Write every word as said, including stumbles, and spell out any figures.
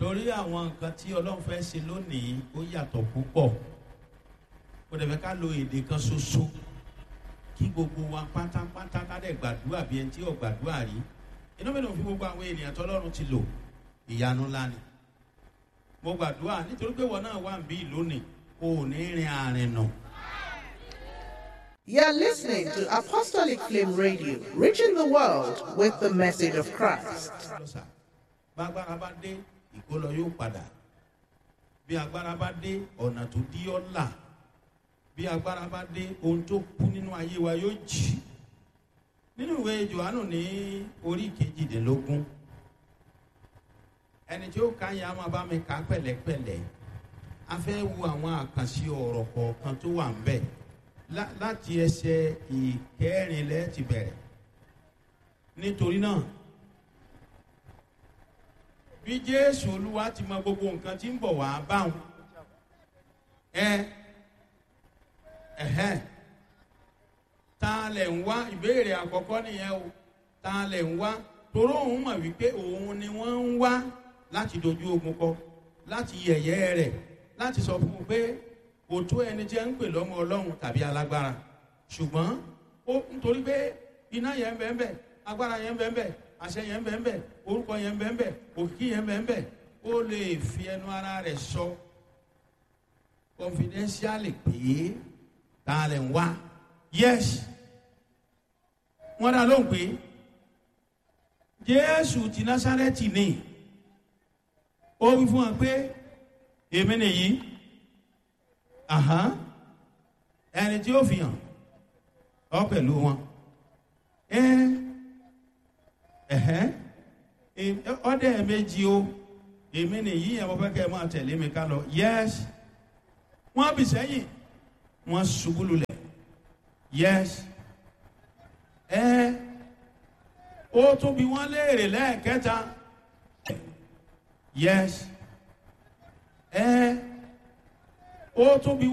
Torí àwọn nǹkan tí Ọlọ́run fẹ́ ṣe lónìí, ó yàtọ̀ púpọ̀. Kò dẹ̀ fẹ́ ká lo èdè kan ṣoṣo kí gbogbo wa pátápátá ká dẹ̀ gbàdúrà bí ẹni tí ò gbàdúrà rí. Inú mi ló fi gbogbo àwọn ènìyàn tọ́lọ́run ti lò. Ìyanu ńlá ni. Mo gbàdúrà nítorí pé wọn náà wà ń bí lónìí, o ò ní rin àrìn nà. You're listening to Apostolic Flame Radio, reaching the world with the message of Christ. Lọ́sà, bágbára bá dé, ìkólọ yóò padà. Bí agbára bá dé, ọ̀nà tó dí ọ́ là. Bí agbára bá dé, ohun tó kú nínú ayé wa yóò jì. Nínú ìwé Jòhánù ní orí kejìdínlógún, ẹni tí ó ka yẹn a máa bá mi kà á pẹ̀lẹ́pẹ̀lẹ́. A fẹ́ wo àwọn àkànṣe ọ̀rọ̀ kọ̀ọ̀kan tó wà ń bẹ̀ lá- láti ẹsẹ̀ ìkẹrin lẹ́ẹ̀ ti bẹ̀rẹ̀. Nítorí náà, bí Jésù Olúwa ti mọ gbogbo nǹkan tí ń bọ̀ wá báwọn, ẹ ẹhẹn, ta lẹ̀ ń wá? Ìbéèrè àkọ́kọ́ nìyẹn o. Ta lẹ̀ ń wá? Toró òun mọ̀ wípé òun ni wọ́n ń wá láti dojú ogun kọ, láti yẹ̀yẹ́ rẹ̀, láti sọ fún un pé kò tó ẹni tí ẹ ń pè lọ́mọ Ọlọ́run tàbí alágbára. Ṣùgbọ́n ó nítorí pé iná yẹn ń bẹ ń bẹ, agbára yẹn ń bẹ ń bẹ, àṣẹ yẹn ń bẹ ń bẹ, orúkọ yẹn ń bẹ ń bẹ, òkìkí yẹn ń bẹ ń bẹ, ó lè fi ẹnu ara rẹ̀ sọ confidentially pé ta lẹ̀ ń wá? Yes, wọ́n dá lóhùn pé Jésù ti Násárẹ́tì ni. Ó wí fún wọn pé èmi nìyí. Àhán, ẹni tí ó fi hàn ọ pẹ̀lú wọn. Ẹ ẹ̀hẹ́n, ọdẹ méjì o, èmi nìyí yẹn, mo fẹ́ kẹ́ ẹ máa tẹ̀lé mi ká lọ. Yes, wọ́n bì sẹ́yìn, wọ́n ṣubú lulẹ̀. Yes, ẹ ó tún bí wọ́n léèrè lẹ́ẹ̀kẹta. Yes, ẹ ó tún bí.